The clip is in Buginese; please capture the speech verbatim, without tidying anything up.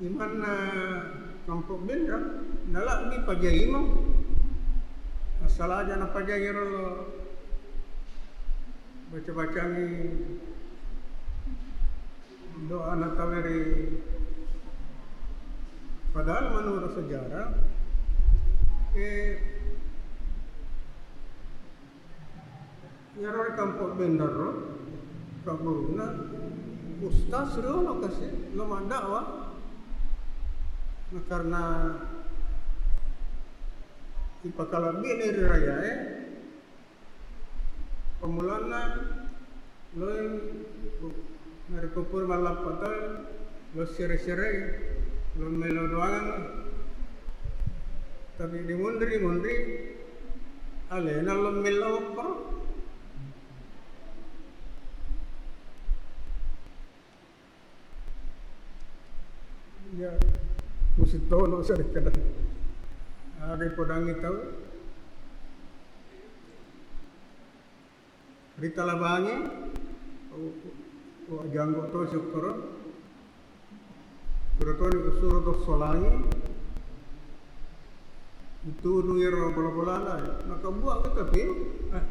Imanna Kampo Bendang, nalabbi pajai mo. Assalaja napajai ro lo baca-bacangi doa nataweri. Padahal menurut sejarah, eh, iyaro ri Kampo Bendang ro, kaburuna ustaz riolo kasi lo maddakwah. Nah, karena ipakalabbi ri rayae, pammulanna loi, narekko pura mallappa taue, lo sere-serei, lo melo doangang. Tapi dimunri-munri, alena lo melo okkoro. Ya, musi tono sarikkada. Aga ipodangi tau. Ritalabangi, o, o, janggo to sukkoro. Pura toni usuro to solangi. Itunu iyaro bola-bolana, nakabbuang kita pi. Eh,